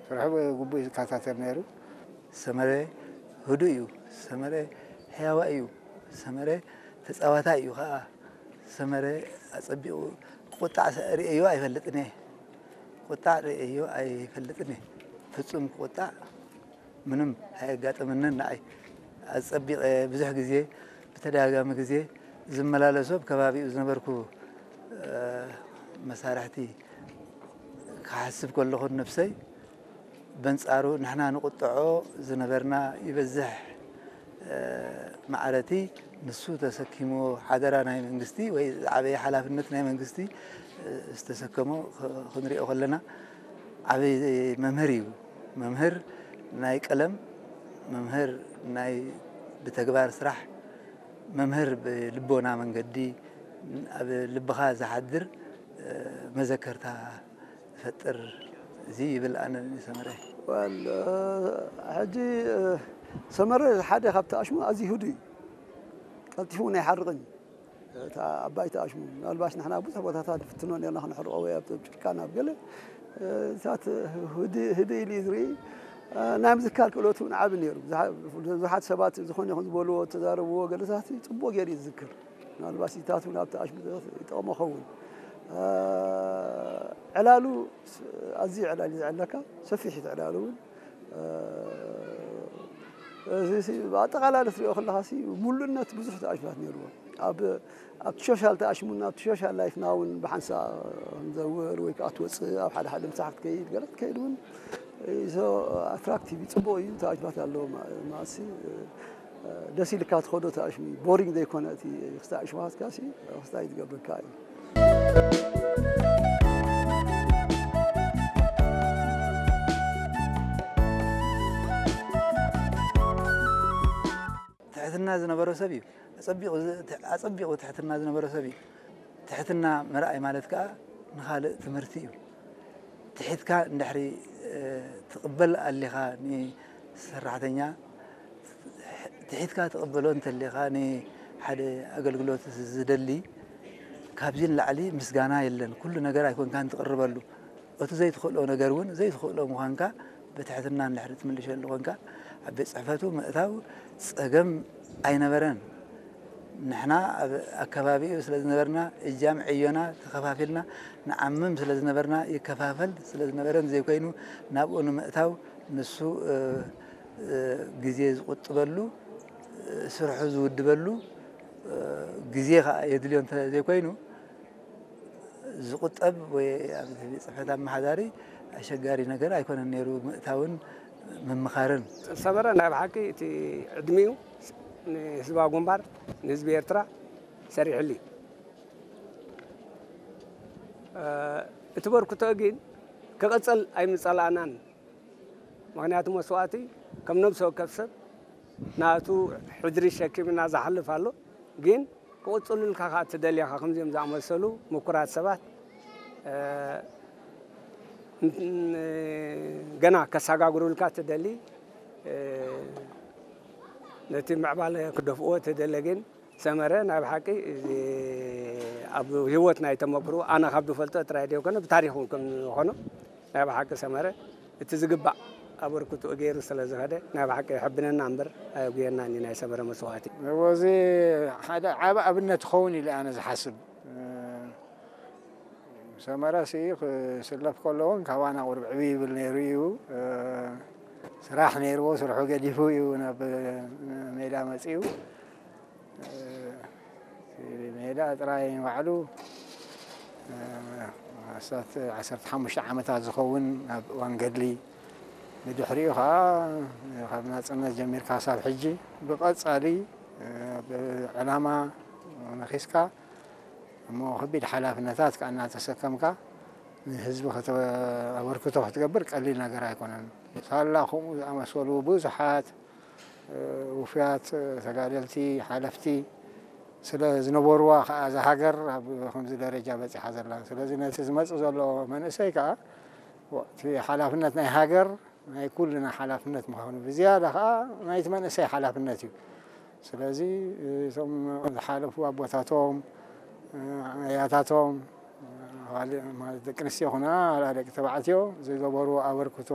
ስርሑ ብግቡእ እዩ ዝከታተል ነይሩ። ሰመረ ህዱእ እዩ። ሰመረ ሕያዋይ እዩ። ሰመረ ተጻዋታይ እዩ ኸኣ። ሰመረ ኣጸቢቑ ክቁጣዕ ሰ-፣ ርእየዮ ኣይፈልጥን እየ። ክቁጣዕ ርእየዮ ኣይፈልጥን እየ። ፍጹም ክቁጣዕ ምንም ኣየጋጠመንን ንዓይ። ኣጸቢቐ ብዙሕ ግዜ፣ ብተደጋጋሚ ግዜ ዝመላለሶ ኣብ ከባቢኡ ዝነበርኩ፣ እ፣ መሳርሕቲ ክሓስብ ከለኹ ነብሰይ በንጻሩ ንሕና ንቁጥዖ ዝነበርና ይበዝሕ፣ እ፣ ማዕረቲ ንሱ ተሰኪምዎ ሓደራ ናይ መንግስቲ ወይ ዝዓበየ ሓላፍነት ናይ መንግስቲ፣ እ፣ ዝተሰከሞ ክ-፣ ክንሪኦ ከለና ዓቢ መምህር እዩ። መምህር ናይ ቀለም፣ መምህር ናይ ብተግባር ስራሕ፣ መምህር ብልቦና መንገዲ ኣብ ልብኻ ዝሓድር፣ እ፣ መዘከርታ ዝፈጥር እዚ ይብል ኣነ ንሰመረ። ወል፣ እ፣ ሕጂ፣ እ፣ ሰመረ ሓደ ካብቲ ኣሽሙ ኣዝዩ ህዱእ እዩ። ቀልጢፉ እውን ኣይሓርቕን እዩ። እታ ኣባይቲ ኣሽሙ ምናልባሽ ንሕና ብዙሕ ቦታታት ንፍትኖ ነርና፣ ክነሕርቆ ወይ ኣብ ጭርካን ኣብ ገለ፣ እ፣ እታት ህድ-፣ ህድእ ኢሉ እዩ ዝርኢ። እ፣ ናይ ምዝካር ክእለቱ እውን ዓቢ ነይሩ። ብዙሓ-፣ ብዙሓት ሰባት ዝኾነ ይኹን ዝበልዎ፣ ተዛረብዎ ገለታት ጽቡቕ ገይሩ እዩ ዝዝክር። ምናልባሽ እታት እውን ኣብቲ ኣሽሙ ይጠቕሞ ኸውን። እ፣ ዕላሉ ስ-፣ ኣዝዩ ዕላል እዩ ዝዕለካ፣ ሰፊሕ እዩ ዕላሉ እውን። እ፣ እዚ ሲ-፣ ብኣጠቓላሊ ትሪኦ ከለኻ ሲ፣ ሙሉእነት ብዙሕ ተኣሽሙታት ነይርዎ። ኣብ፣ ኣብቲ ሶሻል ተኣሽሙና፣ ኣብቲ ሶሻል ላይፍና እውን ብሓንሳእ ክንዘውር ወይ ከዓ ትወፅእ፣ ኣብ ሓደ ሓደ ምሳሕ ክትከይድ፣ ገለ ክትከይድ እውን፣ እ፣ so ኣትራክቲቭ እዩ፣ ፅቡቕ እዩ፣ ተኣሽሙታት ኣለዎ ማ-፣ ማለት ሲ፣ እ፣ ደስ ኢልካ ትኸዶ ተኣሽሙ እዩ። ቦሪንግ ዘይኮነ እቲ ክስታይ ኣሽሙኻትካ ሲ፣ ክስታይ ዝገብረካ እዩ። ትሕትና ዝነበሮ ሰብ እዩ። ኣጸቢቑ ዝ-፣ ኣጸቢቑ ትሕትና ዝነበሮ ሰብ እዩ። ትሕትና ምርኣይ ማለት ከኣ ንኻልእ ትምህርቲ እዩ። ትሒትካ እንድሕሪ፣ እ፣ ትቕበል ኣሊኻ ንሰራሕተኛ፣ ትሒትካ ትቕበሎ እንተሊኻ ንሓደ ኣገልግሎት ዝደሊ፣ ካብዚ ንላዕሊ ምስጋና የለን። ኩሉ ነገር ኣይኮንካን ትቕርበሉ። እቲ ዘይትኽእሎ ነገር እውን ዘይትኽእሎ ምዃንካ ብትሕትና እንድሕሪ ትምልሸሉ ኮንካ፣ ኣብ ቤት ጽሕፈቱ ምእታው ጸገም ኣይነበረን። ንሕና ኣብ ኣከባቢኡ ስለ ዝነበርና፣ እጃም ዕዮና ተኸፋፊልና ንዓምም ስለ ዝነበርና፣ ይከፋፈል ስለ ዝነበረ ዘይኮይኑ፣ ናብኡ ንምእታው ንሱ፣ እ፣ እ፣ ግዜ ዝቑጥበሉ፣ እ፣ ስርሑ ዝውድበሉ፣ እ፣ ግዜ ኸኣ የድልዮ እንተ ዘይኮይኑ፣ ዝቑጠብ ወይ ኣብ ቤት ጽሕፈት ኣመሓዳሪ ኣሸጋሪ ነገር ኣይኮነን ነይሩ፣ ምእታውን ምምኻርን። ሰመረ ናይ ብሓቂ እቲ ዕድሚኡ ንህዝባዊ ግንባር፣ ንህዝቢ ኤርትራ ሰሪሕሉ እዩ። እ፣ እቲ በርክቶ ግን ክቕጽል ኣይምጸላእናን። ምኽንያቱ መስዋእቲ ከም ነብሲ ወከፍ ሰብ ናቱ ሕድሪ ሸኪምና ዝሓልፍ ኣሎ። ግን ክቕጽሉልካ ከኣ ትደልየኻ ከምዚኦም ዝኣመሰሉ ምኩራት ሰባት፣ እ፣ ን-፣ ገና ከሰጋግሩልካ ትደሊ፣ እ፣ ነቲ ምዕባለ ክደፍእዎ ትደሊ ግን ሰመረ ናይ ብሓቂ እዚ ኣብ ህይወት ናይ ተመክሮ ኣነ ካብ ዝፈልጦ ጥራይ ዘይኮነ ብታሪኽ እውን ከም ዝኾኖ ናይ ብሓቂ ሰመረ እቲ ዝግባእ ኣበርክትኡ ገይሩ ስለ ዝኸደ ናይ ብሓቂ የሐብነና እምበር ኣየጉየናን እዩ ናይ ሰመረ መስዋእቲ። እዎ፣ እዚ ሓደ ዓቢ ኣብነት ክኸውን ኢለ ኣነ ዝሓስብ። ሰመረ ሲ ክስለፍ ከሎ እውን ካባና ቁሩብ ዕብይ ይብል ነይሩ እዩ። ስራሕ ነይርዎ፣ ስርሑ ገዲፉ እዩ ናብ ሜዳ መጺኡ። እቲ ሜዳ ጥራይ ንባዕሉ፣ ኣስታት ዓሰርተ ሓሙሽተ ዓመታት ዝኸውን ኣብ እዋን ገድሊ፣ ብድሕሪኡ ኸዓ ካብ ናጽነት ጀሚርካ ክሳብ ሕጂ ብቐጻሊ፣ ብዕላማ ነኺስካ፣ እሞ ከቢድ ሓላፍነታት ከኣ እናተሰከምካ ንህዝቢ ከተበ-፣ ኣበርክቶ ክትገብር ቀሊል ነገር ኣይኮነን። ሳላ ከምኡ ዝኣመሰሉ ብዙሓት፣ እ፣ ውፉያት፣ እ፣ ተጋደልቲ፣ ሓለፍቲ ስለ ዝነበርዋ ከኣ እዛ ሃገር ኣብ ከምዚ ደረጃ በጺሓ ዘላ። ስለዚ ነቲ ዝመጽእ ዘሎ መንእሰይ ከኣ እቲ ሓላፍነት ናይ ሃገር ናይ ኩልና ሓላፍነት ምዃኑ፣ ብዝያዳ ከኣ ናይቲ መንእሰይ ሓላፍነት እዩ። ስለዚ እቶም ዝሓለፉ ኣቦታቶም፣ ኣያታቶም፣ ማለት ደቂ ኣንስትዮ ይኹና ዋላ ደቂ ተባዕትዮ ዝገበርዎ ኣበርክቶ